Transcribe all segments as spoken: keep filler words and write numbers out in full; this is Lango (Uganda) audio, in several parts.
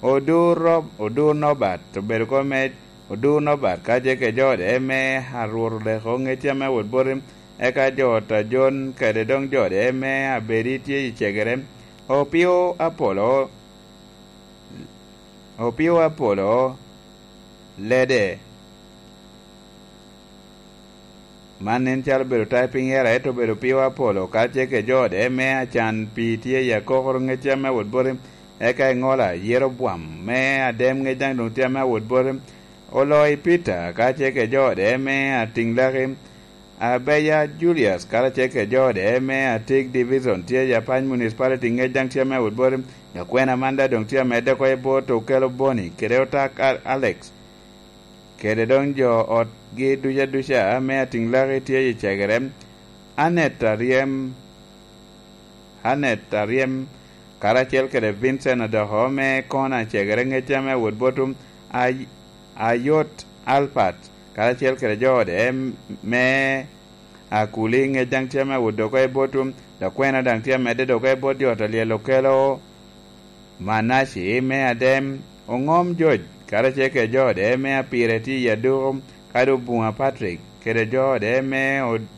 Odur Rob-, Odur Nobat obedo kop me Odur Nobat, ka tye kede jo ode me Arwot Oleko, ŋec ame wot boti, eka jo ot a Jon kede doŋ jo ode me Abedi tye i cegere. Opio Apolo, Opio Apolo Lede. Man nen calo obedo typing error, ento obedo Opio Apolo, ka tye kede jo ode me Acan Pii tye i Akokoro, ŋec ame wot boti, eka Iŋola Yeroboam me Adem, ŋec daŋ doŋ tye ame wot boti. Oloi Peter, ka tye kede jo ode me Atiŋlaki, Abeya Julius, karacel kede jo ode me Atig Division tye i Apac Municipality, ŋec daŋ tye ame wot boti. Lakwena man daŋ doŋ tye amedde oko i bot Okelo Boni kede Otak Al-, Alex, kede doŋ jo otgi duca duca ame Atiŋlaki tye i cegere. Anet Aryem, Anet Aryem, karacel kede Vincent Odoko me Kona cegere, ŋec ame wot boti, Ay-, Ayot Alpat, karacel kede jo ode me Akuli, ŋec daŋ tye ame wot oko i boti. Lakwena daŋ tye amedde oko i bot jo ot a lyel Okelo Manaci me Adem. Oŋom Joc, karacel kede jo ode me Apire tye i Aduko, kadi Obuŋa Patrick kede jo ode me Od-,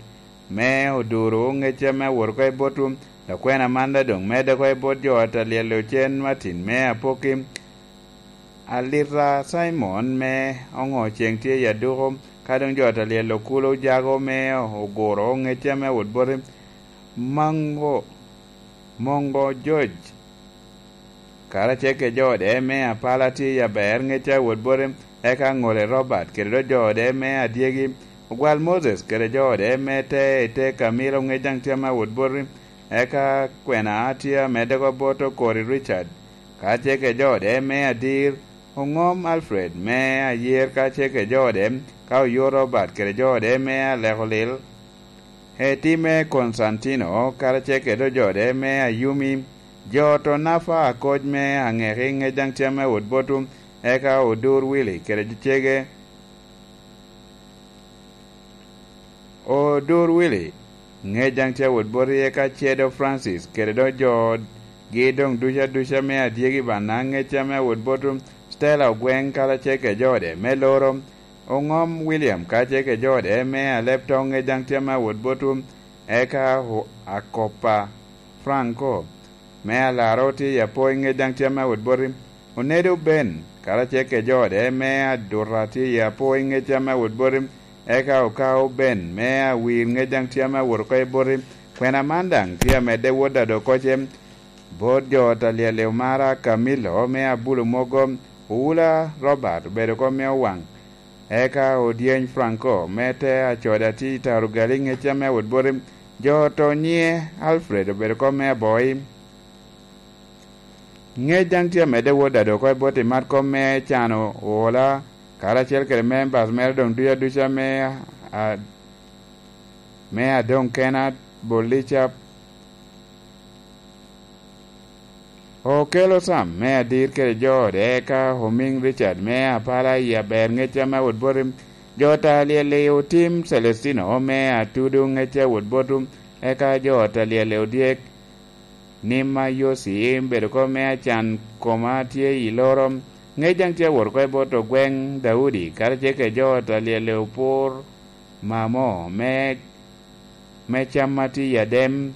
me Oduro, ŋec ame wot oko i boti. Lakwena man daŋ doŋ medde oko i bot jo ot a lyel Ocen Martin me Apoki. Alita Cimon me Oŋo Ceŋ tye i Aduko, ka doŋ jo ot a lyel Okulo Jago me Oguro, ŋec ame wot boti. Mango, Mongo Joc, karacel kede jo ode me Apala tye i Aber, ŋec a wot boti, eka Ŋole Robert kede doŋ jo ode me Adyegi. Ogwal Moses kede jo ode me Te i Te Kamilo, ŋec daŋ tye ame wot boti, eka kwena tye amedde oko bot Okori Richard, karacel kede jo ode me Adir. Oŋom Alfred me Ayer, karacel kede jo ode, ka Oyot Robert kede jo ode me Aleko Lil. Eti me Konstantino, karacel kede jo ode me Ayumi. Jo ot Onafa Akoc me Aŋeki, ŋec daŋ tye ame wot boti, eka Odur Willy kede cege. Odur Willy, ŋec daŋ tye wot boti, eka Cedo Francis kede doŋ jo otgi doŋ duca duca me Adyegi Bana, ŋec ame wot boti. Stella Ogweŋ, karacel kede jo ode me Loro. Oŋom William, karacel kede jo ode me Alep Toŋ, ŋec daŋ tye ame wot boti, eka O-, Akopa Franco me Alaro tye i Apoi, ŋec daŋ tye ame wot boti. Onedo Ben, karacel kede jo ode me Aduta tye i Apoi, ŋec ame wot boti. Eka Okao Ben me Awir, ŋec daŋ tye ame wot oko i boti. Kwena man daŋ tye amedde wot Adokoce, bot jo ot a lyel Omara Camillo me Abulo Mogo. Owula Robert obedo oko me Owaŋ. Eka Odyeny Franco me Te Acoda tye i Tarugali, ŋec ame wot boti. Jo ot Onyie Alfred obedo oko me Aboi. Ŋec daŋ tye amedde wot Adokoce bot i mat kom me cano ola, karacel kede members mere doŋ duca duca me a-, me Adoŋ Kena Bolica. Okelo Sam me Adir kede jo ode, eka Omiŋ Richard me Apala i Aber, ŋec ame wot boti. Jo ot a lyel i Otim Celestino me Atudu, ŋec a wot boti, eka jo ot a lyel i Odyek Nima Yoci, bedo oko me Acan Koma tye i Loro, ŋec daŋ tye awot oko i bot Ogweŋ Daudi, karacel kede jo ot a lyel i Opur Mamo me, me Cam ma tye i Adem.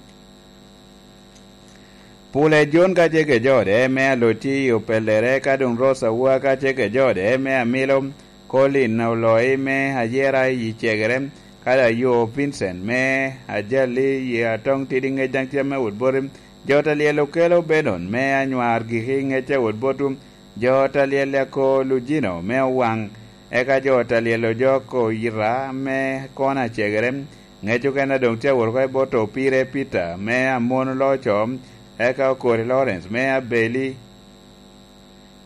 Pule Jon, karacel kede jo ode me Aloci i Opellere, ka doŋ Rose Awua, karacel kede jo ode me Amilo, Colin Oloi me Ayera i Cegere, kadi Ayo Vincent me Ajali i Atoŋ Tidi, ŋec daŋ tye ame wot boti. Jo ot a lyel Okelo Benon me Anywar Giki, ŋec a wot boti. Jo ot a lyel Ako Lujino me Owaŋ, eka jo ot a lyel Ojok Oyita me Kona Cegere, ŋec okene doŋ tye awot oko i bot Opire Peter me Amon Loco, eka Okori Lawrence me Abeli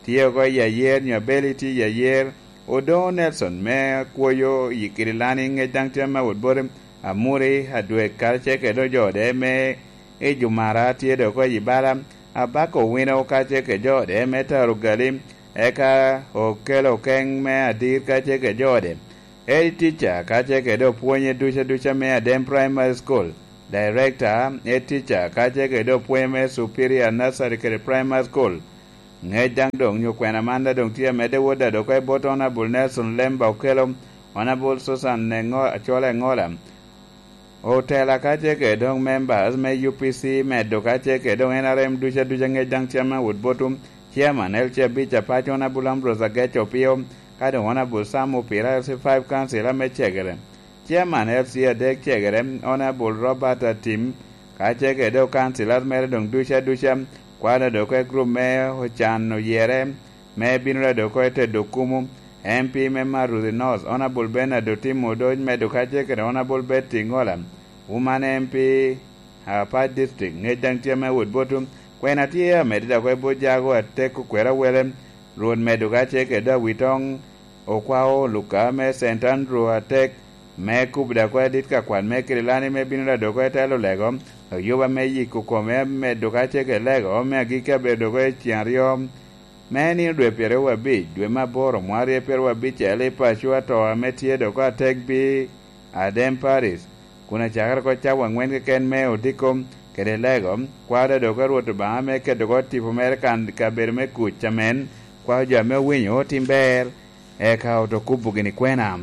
tye oko i Ayer, nyo Abeli tye i Ayer. Odoŋo Nelson me Kwoyo i Kirilani, ŋec daŋ tye ame wot boti. Amuri Adwek, karacel kede jo ode me i Jumara, tye doŋ oko i Bala. Abako Owino, karacel kede jo ode me Tarugali, eka Okelo Okeŋ me Adir, karacel kede jo ode. Edi Teacher, karacel kede opwonye duca duca me Adem Primary School. Director, Ed Teacher, karacel kede opwonye me Superior Nursery kede Primary School. Ŋec daŋ doŋ nyo kwena man daŋ doŋ tye amedde wot daŋ dok i bot Honorable Nelson Lemba Okello, Honorable Susan Engo-, Acwala Engola, otela ka tye kede doŋ members me U P C medo ka tye kede doŋ N R M ducu aduca. Ŋec daŋ tye ame wot botwu, Chairman L C abic apac Honorable Ambrose Agech Opio, ka doŋ Honorable Sam Opira L C five Council ame cegere. Chairman L C adek cegere, Honorable Robert Atim, ka ce kede okancilas mere doŋ ducu aduca, kwano doŋ oko i gurup me Ocan Oyere, me bino doŋ oko i Tedo Kumu, M P me Maruthi North, Honorable Bernard Otim Odoc, medo ka ce kede Honorable Betty Ngola, Woman M P, Apac District, ŋec daŋ tye me wot botwu. Kwena tye amedde doŋ oko i bot Jago Atek Okwero Awele, Rwot medo ka ce kede Awitoŋ, Okwao Luka me Saint Andrew Atek, me kubo daŋ oko adit ka kwan me Kirilani me bino daŋ doko i telo lego, oyuba me yiko kome medo ka ce kede lego me agikki abedo doko i ceŋ aryo, me nino dwe pyeraryo abic, dwe me aboro, mwaka aryo pyeraryo abicel, i paco ato ame tye doko atek bi Adem Paris, kun acakere oko cawa aŋwen keken me odiko kede lego, kwao daŋ doko Rwot Obaŋa me keto oko tipo mere kan kabedo me kuc amen, kwao jo ame owinyo otim ber, eka oto kubo gini kwena.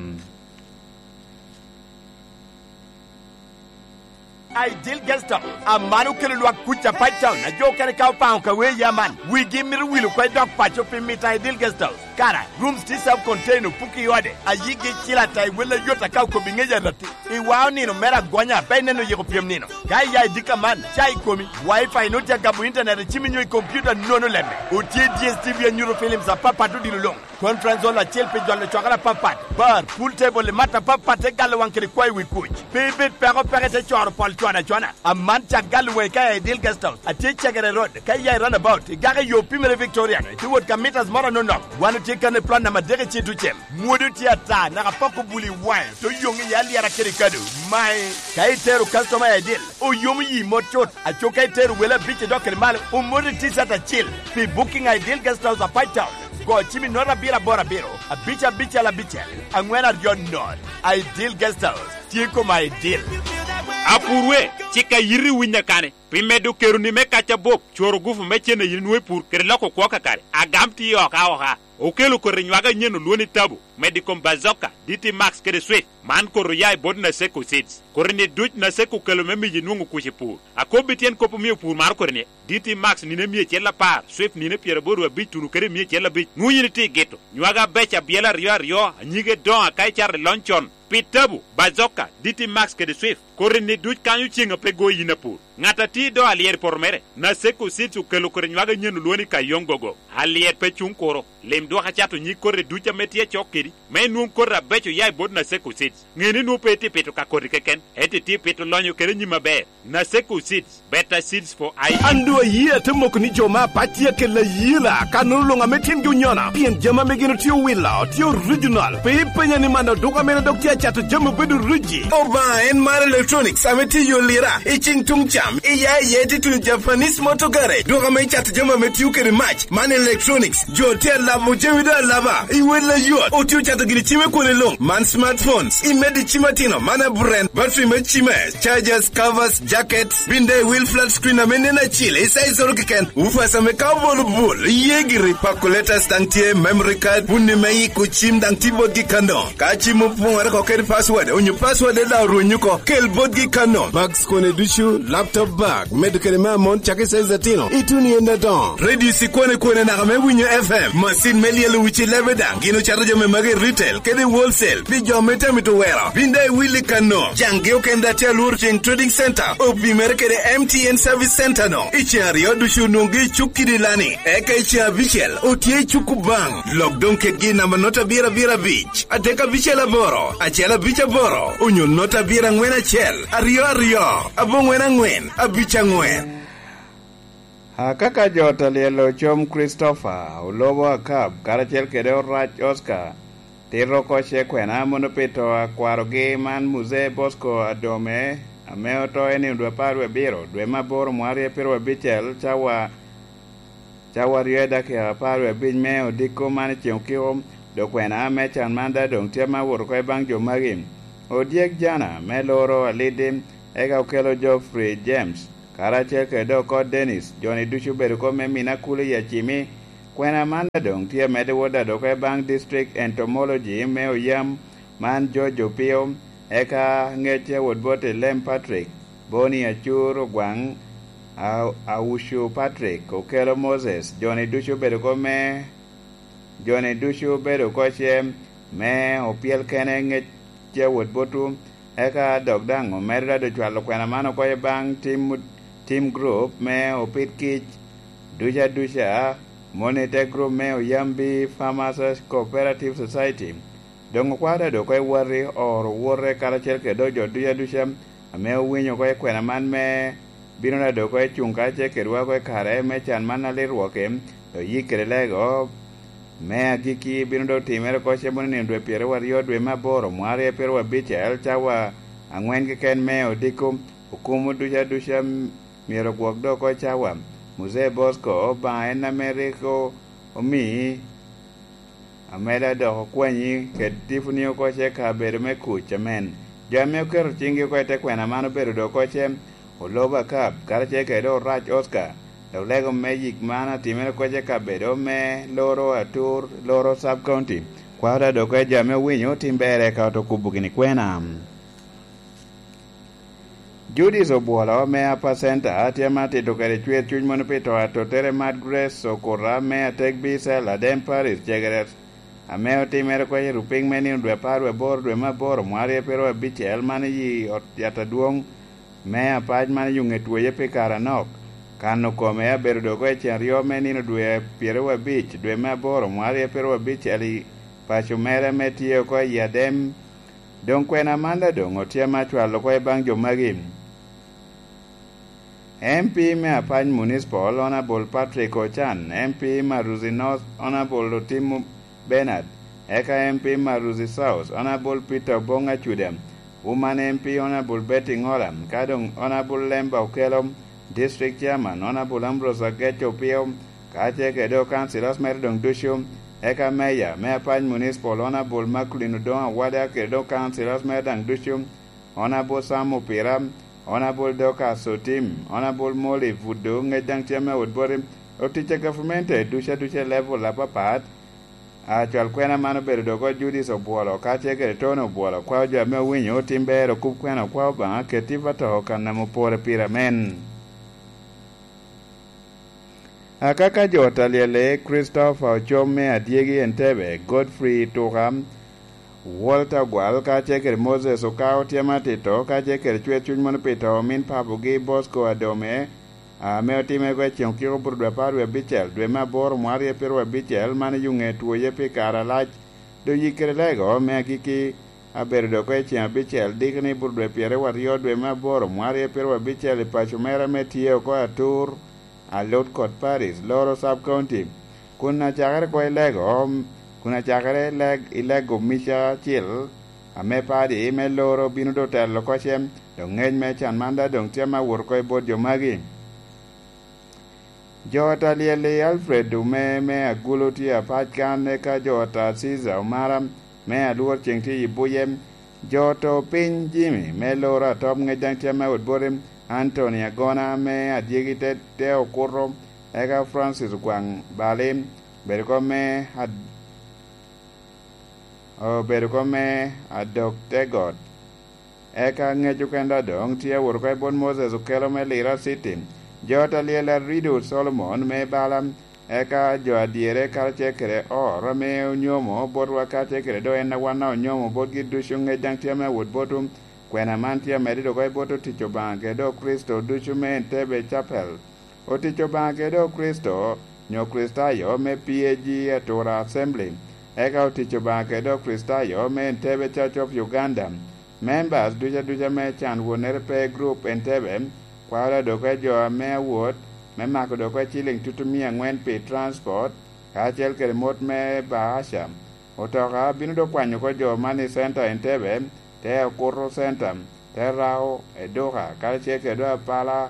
Ideal Guest House, aman okelo lwak kuc Apac Town, a jo okene ka opaŋo ka wee ya man, wigi mito wil oko i dog paco pi mito Ideal Guest House. Kara, rooms tye self contained, opuki i ode, a yigi cil ata i wel ayot aka okobo i ŋec aratti. I wao nino mere agonya, pe ineno yiko pyem nino. Ka iya i dikka man, ca i komi, Wi-Fi nwoŋo tye agamo internet i cimi nyo i kompiuta nono lemme. Otye D S T V anyuto films apapat odilo luŋ. Conference hall acel pi jolo cwakere apapat, bar, pool table i mat apapat te galo waŋ kede kwayo wi kuc. Pe ibed peko peko ite coro pol cwana cwana. Aman cak galo waŋi ka i Ideal Guest House. Atye i Cegere Road, ka iya i roundabout, igako i yo Pimere Victoria-nu, ite wot ka mitas moro anonok. Wan otye kan i plot namba adek i Citucem. Mwodo tye ata, naka poko bul i waŋe, te oyoŋ iye alyera kede kado. Mae, ka itero customer i Ideal, oyomo yi mot cut. Aco ka itero wele abic idok kede malo, omoti T-shirt acil. Pi booking a Ideal Guest House Apac Town, go cim i nota abiro aboro abiro, abic abicel abicel, aŋwen aryo not. Ideal Guest House, tye koma Ideal. Apurwe, cik a yiti winyo kane, pi medo keroni me kac abup, cworo gufu me cen a yin nwoŋo i pur, kede loko kwo kakare. Agam tye oka oka. Okelo koti nywage anyen olwoni Tabu, medo i kom Bazooka, D T Max kede Swift. Man koti oya i bot Naseko Seeds. Koti-ni duc Naseko okelo me miyi nwoŋo kuc i pur. Akobbi tyen kop omio pur maro koti-ni, D T Max nino emia acel apar, Swift nino pyeraboro abic tuno kede emia acel abic. Nwoŋo yin itye i gito. Nywage abeco abyela aryo aryo, anyige doŋo aka icato i lony con. Pi Tabu, Bazooka, D T Max kede Swift, koti-ni duc kanyo ceŋ a pe go yin apur. Ŋat a tye i do alyero i poto mere, Naseko Seeds okelo koti nywage anyen olwoni Kayong Gogo. Alyet pe cuŋ kuro. Lim dwok acato nyig koti duc ame tye acok kedi, me inwoŋ koti abeco oya i bot Naseko Seeds. Ŋe ni nwoŋo pe itye pito ka koti keken, ento itye pito lonyo kede nyim aber. Naseko Seeds, better seeds for I. An doŋ ayie ate moko ni jo me Apac tye akelo ayela, ka nono luŋ ame tyengi onyono, pien jami ame gin otye owilo, tye original. Pe ipenya ni man oduka mene dok tye acato jami obedo riji. Obaŋa en mar electronics ame tye i yo lira, i ceng tuŋ cam, i ya i ya ite tuno Japanese motor garage, duka ame icato jami ame tio kede mac, man electronics, jo tye alabo jami doŋ alaba, i wel ayot, otye ocato gini cime kwone luŋ, man smartphones, imedo i cim atino, man aburen, battery me cime, chargers, covers, jackets, bin daŋ i wil flat screen ame nen acil, i size oro keken, woofers ame ka obolo bul, iye giri, calculators daŋ tye, memory card, bunni me yiko cim daŋ tye botgi kano. Ka cim opoŋere oko kede password, onyo password daŋ orwenyo oko, kel botgi kano. Bags kone ducu, laptop bag, medo kede me amon, cakki size atino, ituno i en adoŋo. Radio cikwane kwane naka me winyo F M, macin me lyelo wici lebe daŋ, gin ocato jami magi i retail, kede i wholesale, pi jo me tamito wero. Bin daŋ iwilli kano. Caŋgi okende atye alworo ceng Trading Center, opimere kede M T N Service Center no. I ceŋ aryo ducu onwoŋgi i cuk kidi lani, eka i ceŋ abicel otye i cuk Kubaŋ. Lok doŋ kedgi i namba nota abiro abiro abic, adek abicel aboro, acel abic aboro, onyo nota abiro aŋwen acel, aryo aryo, aboŋwen aŋwen, abic aŋwen. Akaka jo ta lyel ocom Christopher, Olobo Akab, karacel kede Orac Oscar, tito oko ce kwena mono pi to a kwarogi man Muzee Bosco Adome, ame oto i nino dwe apar wie abiro, dwe me aboro mwaka aryo pyeraryo abicel, cawa, cawa aryo i dakika apar wie abic me odiko man i ceŋ okiko, dok kwena me can man daŋ doŋ tye ma owoto oko i baŋ jo magi. Odyek Jana me loro Alidi, eka okelo Geoffrey James, karacel kede dok oko Dennis, jo-ni ducu obedo kop me mine akuli i Acimi, Kwena man a doŋ tye amedde wot adok i baŋ District Entomology me Oyam man George Opio, eka ŋecce wot bot i Lem Patrick, Boni Acur Ogwaŋ, A-, Aucu Patrick, Okelo Moses, joni ducu obedo oko me, joni ducu obedo oko ce me opyel kene ŋecce wot botwu, eka dok daŋ omedo dado cwalo kwena man oko i baŋ tim, tim group me opid kic duca duca, moni te group me Oyambi Farmers Cooperative Society. Doŋ okwao dado oko i wati oro wote karacel kede dok jo duca duca ame owinyo oko i kwena man me bino dado oko i cuŋ karacel kedwa oko i kare me can man alit rwoke, dok yik kede lego me agikki bino dok timere oko cemo ni nino dwe pyeraryo dwe me aboro mwarre pyeraryo abicel cawa aŋwen keken me odiko. Okumo duca duca myero ogwok dok oko i cawa. Muzee Bosco Obaŋa en ame rik o-, omi ameda dok okwanyi kede tiponi oko ce kabedo me kuc amen. Jo ame oketo ciŋgi oko i te kwena man obedo dok oko ce Olobo Akab, karacel kede Orac Oscar, dok lego me yik man atimere oko ce kabedo me Loro Atur, Loro Sub County. Kwao dado oko i jo ame owinyo tim berre ka oto kubo gini kwena. Judith Obwolo me Upper Center tye ame atito kede cwer cuny mono pi to atottere Mad Grace Okuta me Atek Bicel Adem Parish Cegeret, ame otimere oko i rupiny me nino dwe apar dwe aboro dwe me aboro mwarre pyeraryo abicel man i ot yat adwoŋ me apac man i Yuŋetwoye pi kare anok. Kano kome abedo dok oko i cen aryo me nino dwe pyeraryo abic dwe me aboro mwarre pyeraryo abicel i paco mere ame tye oko i Adem. Doŋ kwena man daŋ doŋ otye ame acwalo oko i baŋ jo magi. M P me Apany Municipal, Honorable Patrick Ochan, M P Maruzi North, Honorable Otimo Bernard, eka M P Maruzi South, Honorable Peter Obong Acuda, Woman M P, Honorable Betty Ngola, ka doŋ Honorable Lemba Okelo, District Chairman, Honorable Ambrose Agech Opio, ka ce kede councillors mere doŋ ducu, eka Mayor me Apany Municipal, Honorable Maclean Odongo Awada, kede doŋ councillors mere daŋ ducu, Honorable Sam Opira, Honorable Dorcas Otim, Honorable Molly Buddo, ŋec daŋ tye ame wot boti, otic a gavumenti ducu aduca i level apapat. Acwal kwena man obedo dok oko Judith Obwolo, ka ce kede Tony Obwolo, kwao jo ame owinyo otim ber okub kwena okwao Obaŋa keti pa to kan ame opore pire amen. Akaka jo talyele, Christopher Ocom me Adyegi Entebbe, Godfrey Tuka, Walter Ogwal, ka ce kede Moses Okao tye ame atito, ka ce kede cwer cuny mono pi to omin papogi Bosco Adome, ame otimere oko i ceŋ okiko buto dwe apar wie abicel, dwe me aboro mwarre pyeraryo abicel, man i Yuŋe twoye pi kare alac, doŋ yik kede lego me agikki abedo dok oko i ceŋ abicel, dikni buto dwe pyeraryo aryo, dwe me aboro mwarre pyeraryo abicel, i paco mere ame tye oko Atur, Alut kod Paris, Loro Sub County, kun acakere oko i lego, kun acakere i leg, i lego mica acil, ame padi me Loro bino doŋ telo oko cem, doŋ ŋec me can man daŋ doŋ tye ame awot oko i bot jo magi. Jo talyel i Alfred Ome me Agulu tye apac kan, eka jo Tarciza Omara me Alwor ceŋ tye i buye. Jo to piny Jimmy me Loro Atop ŋec daŋ tye ame wot boti, Anthony Agona me Adyegi te, te Okuto, eka Francis Ogwaŋ Bali, bedo kom me ad-, obedo kom me Adok te Got. Eka ŋec okene doŋ tye awot oko i bot Moses Okelo me Lira City. Jo talyel Arido Solomon me Bala, eka jo adyere karacel kede oro ame onyomo botwa karacel kede doŋ en a wan a onyomo botgi ducu ŋec daŋ tye ame awot botwu. Kwena man tye amedde dok oko i bot otic Obaŋa kede dok Kricito ducu me Entebbe Chapel. Otic Obaŋa kede dok Kricito, nyo Kricitayo me P A G Atura Assembly, eka otic Obaŋa kede dok Kricitayo me Entebbe Church of Uganda. Members duca duca me can wonere pe group Entebbe, kwao dok oko i jo ame awot, me mako dok oko i ciliŋ tutumia aŋwen pi transport, kacel kede mot me bahasha. Otoka bino dok kwanyo oko jo man i Center Entebbe, te Okuto Center, te Rao, Eduka, karacel kede dok Apala,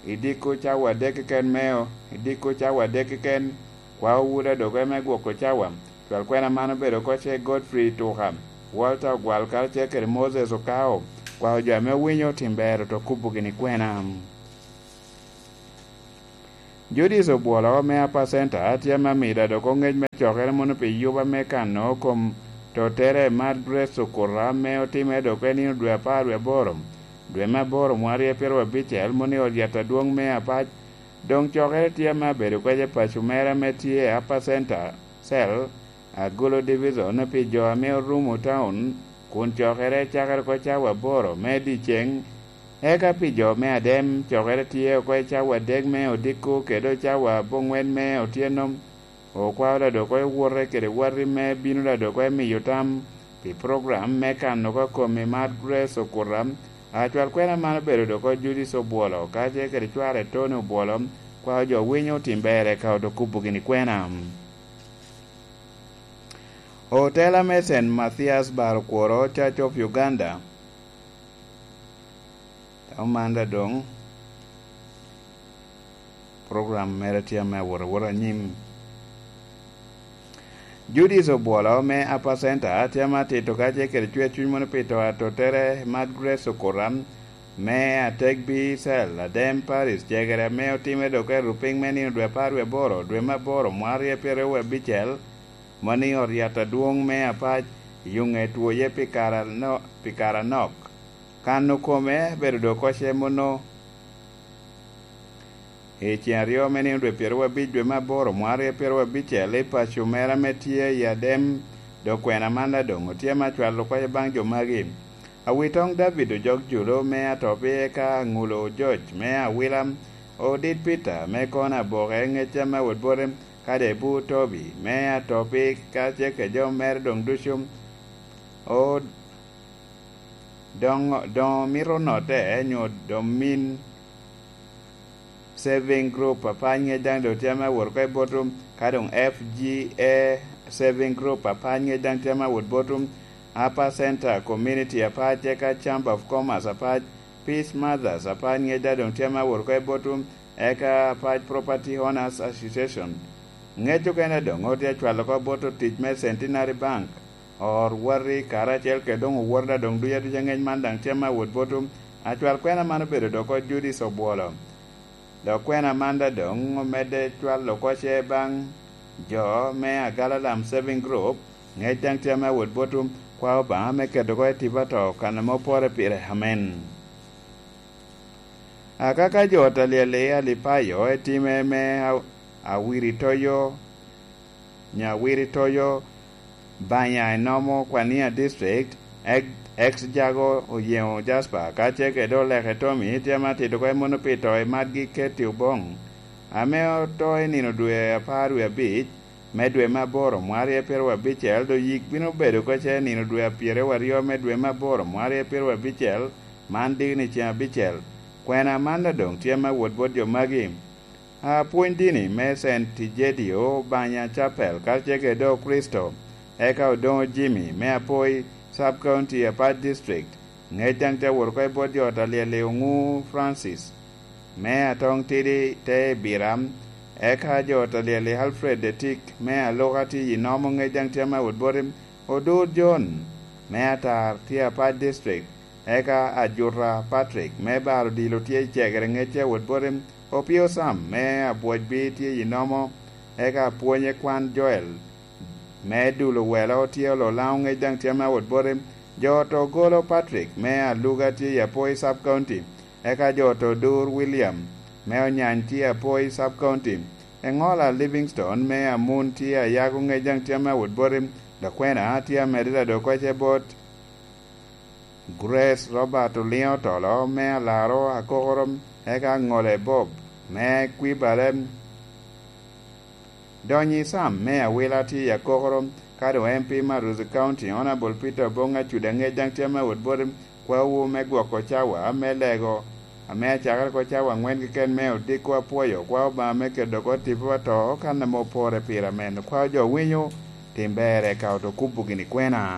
i diko cawa adek keken meo, i diko cawa adek keken, kwao Wuda dok eme gwoko cawa. Cwal kwena man obedo oko ce Godfrey Tuka, Walter Ogwal karacel kede Moses Okao, kwao jo ame owinyo otim ber oto kubo gini kwena. Judith Obwolo me Upper Center tye ame amido dok oŋec me cokere mono pi yuba me kano kom tottere Mad Grace Okuta ame otimere dok en nino dwe apar wie aboro, dwe me aboro mwarye pyeraryo abicel mono i ot yat adwoŋ me Apac. Doŋ cokere tye ame abedo kece paco mere ame tye i Upper Center Cell, Agulu Division pi jo ame orumo taun, kun cokere cakere oko cawa aboro me dyeceŋ. Eka pi jo me Adem, cokere tye oko i cawa adek me odiko kede cawa aboŋwen me otyeno. Okwao ladok oko i wote kede wati me bino ladok oko i miyo tam pi program me kano oko kom i Mad Grace Okuta. Acwal kwena man obedo dok oko Judith Obwolo, kacel kede cware Tony Obwolo, kwao jo winyo tim ber eka oto kubo gini kwena. Otela me Saint Mathias Bar Okworo, Church of Uganda, tamo man da doŋ program mere tye ame awot awot anyim. Judith Obwolo me Upper Center tye ame atito kacel kede cwer cuny mono pi to atottere Mad Grace Okuta me Ategbi Cell, Adem Parish, cegere ame otimere dok i rupiny me nino dwe apar wie aboro, dwe me aboro, mwarye pyeraryo wie abicel, mano i ot yat adwoŋ me Apac, i Yuŋe Twoye pi kare ano-, pi kare anok. Kano kome bedo dok oko ce mono i ceŋ aryo me nino dwe pyeraryo abic dwe me aboro, mwarye pyeraryo abicel, i paco mere ame tye i Adem, dok kwena man da doŋ otye me acwalo kwayo baŋ jo magi. Awitoŋ David Ojok Julo me Atopi, eka Aŋulo George me Awila, Odit Peter me Kona Aboke, Ŋecca me Awot Bote, kadi Ebu Tobi me Atopi, kacel kede jo mere doŋ ducu. O, doŋ, doŋ omito notte, nyo doŋ min Saving Group Apac ŋec daŋ doŋ tye ame awot oko i Botum, ka doŋ F G A Saving Group Apac ŋec daŋ tye ame awot Botum, Upper Center Community Apac, eka Chamber of Commerce Apac, Peace Mothers Apac ŋec daŋ doŋ tye ame awot oko i Botum, eka Apac Property Owners Association. Ŋec okene doŋ otye acwalo oko bot otic me Centenary Bank, ot wati, karacel kede doŋ owot daŋ doŋ duc aduca. Ŋec man daŋ tye ame awot Botum. Acwal kwena man obedo dok oko Judith Obwolo. Dok kwena man daŋ doŋ omedde cwalo oko ce baŋ jo me Agalalam Saving Group, ŋec daŋ tye ame awot Botum, kwao Obaŋa me keto oko i tipo ato kan ame opore pire. Amen. Akaka jo ot alyel i Alipayo etime me a-, Awiritoyo, Nyawiritoyo, Banya enomo Kwania District, ex, ex Jago Oyeŋo Jasper, kacel kede Oleke Tommy, tye ame atito oko i mono pi to i Madgi Ketty Oboŋ, ame oto i nino dwe apar wie abic me dwe me aboro, mwarye pyeraryo abicel, doŋ yik bino bedo oko ce nino dwe apyeraryo aryo me dwe me aboro, mwarye pyeraryo abicel, man dikni ceŋ abicel. Kwena man daŋ doŋ tye ame awot bot jo magi. Apwony dini me Saint Egidio Banya Chapel, kacel kede Okricito, eka Odoŋo Jimmy me Apoi Sub County, Apac District, ŋec daŋ tye awot oko i bot jo ot alyel i Oŋu Francis me Atoŋ Tidi te Ibira, eka jo ot alyel i Alfred Etik me Aluka tye i Nomo, ŋec daŋ tye ame awot boti. Odur John me Atar tye Apac District, eka Ajuta Patrick me Bar Odilo tye i Cegere, ŋec tye awot boti. Opio Sam me Abwocbi tye i Nomo, eka apwonye kwan Joel me Dulo Welo tye Ololaŋo, ŋec daŋ tye ame awot boti. Jo ot Ogolo Patrick me Aluga tye i Apoi Sub County, eka jo ot Odur William me Onyany tye i Apoi Sub County. Eŋola Livingstone me Amun tye Ayago, ŋec daŋ tye ame awot boti. Lakwena tye amedde ladok oko ce bot Grace Robert Oliŋo Otolo me Alaro Akokoro, eka Aŋole Bob me Kwibale. Donyi Sam me Awila tye i Akokoro, ka doŋ M P Maruzi County, Honorable Peter Oboŋ Acuda, ŋec daŋ tye ame awot boti. Kwawu me gwoko cawa me lego, ame acakere oko cawa aŋwen keken me odiko, apwoyo kwa Obaŋa me keto oko tipo ato kan ame opore pire amen. Kwao jo winyo, tim ber eka oto kubo gini kwena.